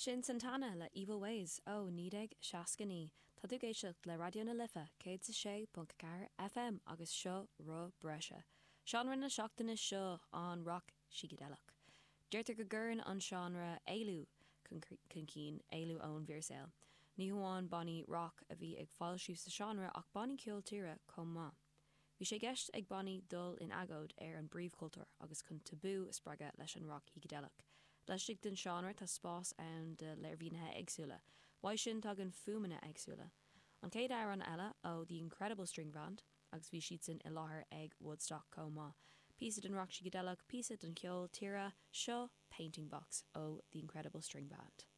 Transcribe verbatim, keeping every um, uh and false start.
Sin Santana le Evil Ways ó naoi déag seasca naoi. Tá tú ag éisteacht le Raidió na Life céad is a sé ponc ceathair FM agus seo Roth Breise. Seánra na seachtaine seo an rock sícideileach. Deirtear go gcuireann an seánra éalú chun cinn, éalú ón bhfíorshaol. Ní hamháin bannaí rock a bhí ag foilsiú sa seánra ach bannaí ceol tíre chomh maith. Bhí sé i gceist ag bannaí dul in agóid ar an bpríomhchultúr agus chun tabú a spreagadh leis an rock shícideileach. Laistigh den seánra tá spás ann do léirmhínithe éagsúla. Uaidh sin tagann fuaimeanna éagsúla. An chéad amhrán eile ó The Incredible String Band agus bhí siadsan i láthair ag Woodstock chomh maith. Píosa den rock sícideileach, píosa den cheol tíre, seo Painting Box ó The Incredible String Band.